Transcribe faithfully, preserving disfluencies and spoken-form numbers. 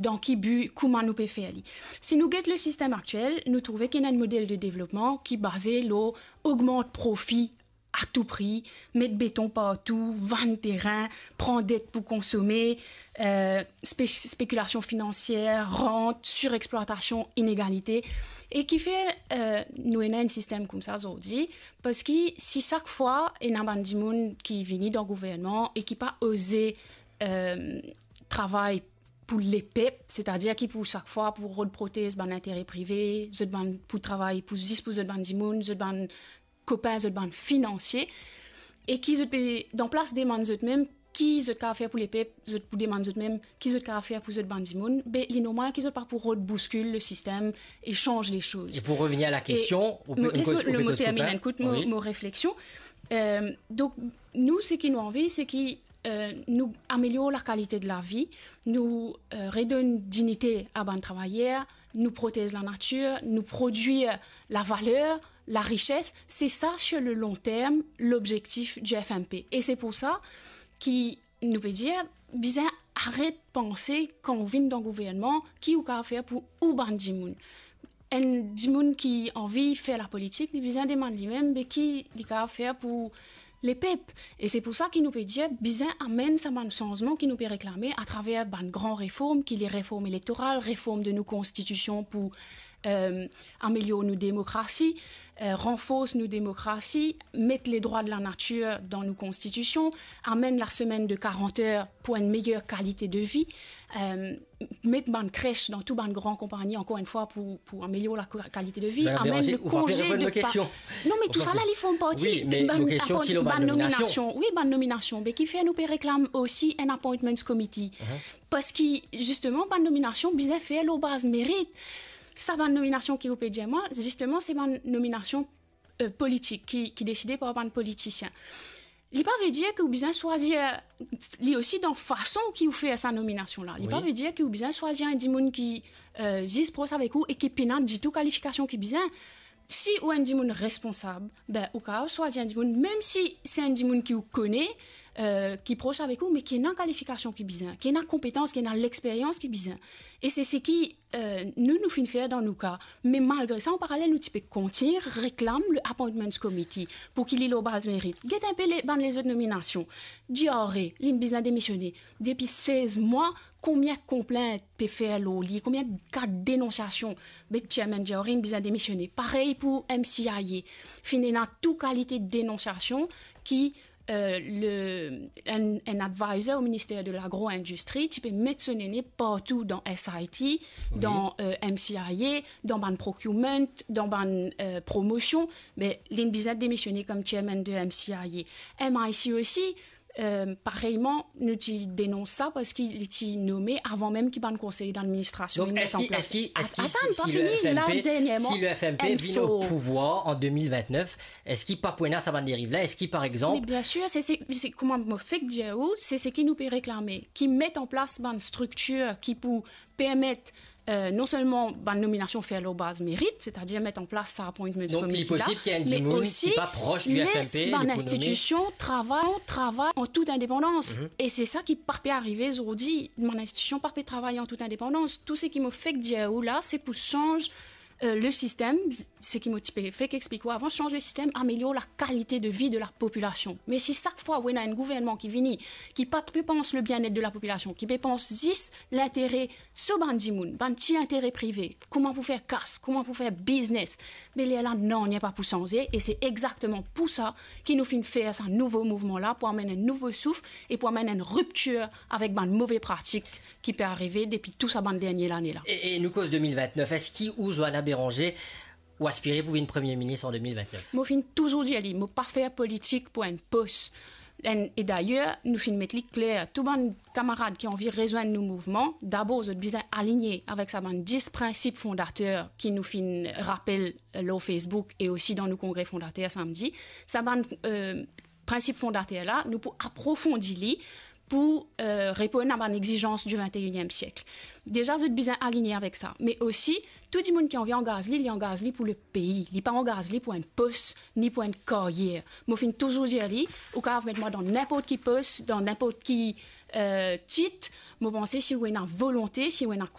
dan ki bi, kouma nou pe fer li. Si nou get lesistem aktiel, nou trouve ki ena enn model de devlopman ki baze lor ogmant profi a tou pri, met beton partou, vann terin, pran det pou konsome, eh, spe-, spekilasion finansier, rant, sirexplwatasion, inegalite, e ki fer, eh, nou ena enn sistem koumsa zordi, parski si sak fwa ena bann dimoun ki vini dan gouvernman e ki pa oze, eh, travay pou lepep, setadir ki pou sak fwa pou rod protez bann intere prive, zot bann pou travay pou, zis pou zot bann dimoun, zot bann kopin, zot bann finansie, e ki zot pe, dan plas demann zot mem ki zot kapav fer pou lepep, zot pou demann zot mem ki zot kapav fer pou zot bann dimoun, be, li normal ki zot pa pou rod bouskil lesistem e sanz lesoz. E pou revenir a la kestion, ou pe, mo, ou les koz, mo, ou pe mo koz terminn, kopin. Ekout mo, wi, mo refleksion. Eh, donk, nou, seki nou anvi, se ki, eh, nou amelior lakalite de lavi, nou, eh, redonn dignite a bann travayer, nou protez lanatir, nou prodwir lavaler, larises. Se sa, sur le long terme, lobzektif di F M P. E se pou sa ki nou pe dir, bizin aret panse kan ou vinn dan gouvernman, ki ou kapav fer pou ou bann dimoun. Enn dimoun ki anvi fer lapolitik, li bizin demann limem, be ki li kapav fer pou lepep. E se pou sa ki nou pe dir, bizin amenn sa bann sanzman ki nou pe reklame atraver bann gran reform, ki li reform elektoral, reform de nou konstitision pou, eh, amelior nou demokrasi, eh, ranfors nou demokrasi, met ledrwa de lanatir dan nou konstitision, amenn lasemenn de karant er pou enn meyer kalite de vi, eh, met bann kres dan tou bann gran konpagni, ankor enn fwa, pou, pou amelior la ka-, kalite de vi, amenn le konze de pa-, non, me tousala, li form parti de bann, bann nominasion. Wi, bann nominasion. Me ki fer nou pe reklam osi enn appointments committee. Parski, zisteman, bann nominasion bizin fer lor baz merit. Sa bann nominasion ki ou pe dir mwa, zisteman, se bann nominasion, eh, politik ki, ki deside par bann politisien. Li pa ve dir ki ou bizin swazir, li osi dan fason ki ou fer sa nominasion la. Li pa ve dir ki ou bizin swazir enn dimoun ki, eh, zis pros avek ou e ki pena ditou kalifikasion ki bizin. Si ou enn dimoun responsab, be, ou kapav swazir enn dimoun, mem si se enn dimoun ki ou kone, eh, ki pros avek ou, me ki ena kalifikasion ki bizin, ki ena konpetans, ki ena lexperyans ki bizin. E se seki, eh, nou, nou finn fer dan nou ka. Me malgre sa, an paralel, nou ti pe kontign reklam le appointments committee pou ki li lor baz merit. Get enpe le, bann lezot nominasion. Diaré, linn bizin demisione. Depi sez mwa, konbien konplint pe fer lor li, konbien ka denonsiasion, be chairman Diaré inn bizin demisione. Parey pou M C I A. Finn ena tou kalite denonsiasion ki, eh, le, enn, enn advisor o Minister de Lagro-Indistri ti pe met so nene partou dan S I T, wi, dan, eh, M C I A, dan bann procurement, dan bann, eh, promosion, be linn bizin demisione kom chairman de M C I A. M I C osi, eh, pareyman, nou ti denons sa parski li ti nome avan mem ki bann konsey d'administrasion inn met an plas. Donk, eski, eski, eski si, si le F M P, si le F M P vinn o pouvwar an de mil vintnef, eski pa pou ena sa bann deriv la? Eski, par exanp... Me biensir, se, se, se kouma mo fek dir ou, se seki nou pe reklame, ki met an plas bann striktir ki pou permet, eh, non selman bann nominasion fer lor baz merit, setadir met an plas sa appointments committee la, me osi les bann institision travay, travay an tout indepandans. E se sa ki pa pe arive zordi, bann institision pa pe travay an tout indepandans. Tou seki mo fek dir ou la, se pou sanz, eh, le sistem, seki mo ti pe fek explik ou avan, sanz le sistem, amelior lakalite de vi de lapopilasion. Me si sak fwa ou ena enn gouvernman ki vini, ki pa pe pans le bienet de lapopilasion, ki pe pans zis lintere so bann dimoun, bann ti intere prive, kouma pou fer kas, kouma pou fer biznes, me lerla nanye pa pou sanze, e se exakteman pou sa ki nou finn fer sa nouvo mouvman la, pou amenn enn nouvo souf e pou amenn enn riptir avek bann move pratik ki pe arive depi tou sa bann dernie lane la. E, e nou koz de mil vintnef, eski ou, Johanna Béranger, ou aspire pou vinn Premie Minis an de mil vintnef? Mo finn touzour dir li, mo pa fer politik pou enn pos. Enn, e dayer, nou finn met li kler, tou bann kamarad ki anvi rezwenn nou mouvman, dabor zot bizin aligne avek sa bann dis prinsip fondater ki nou finn rapel, eh, lor Facebook e osi dan nou kongre fondater samdi. Sa bann, eh, prinsip fondater la, nou pou aprofondi li pou, eh, reponn a bann exizans di vinteyinniem siek. Deza, zot bizin aligne avek sa. Me osi, tou dimoun ki anvi angaz li, li angaz li pou lepei. Li pa angaz li pou enn pos, ni pou enn karyer. Mo finn touzour dir li, ou kapav met mwa dan ninport ki pos, dan ninport ki, euh, tit, mo panse si ou ena volonte, si ou ena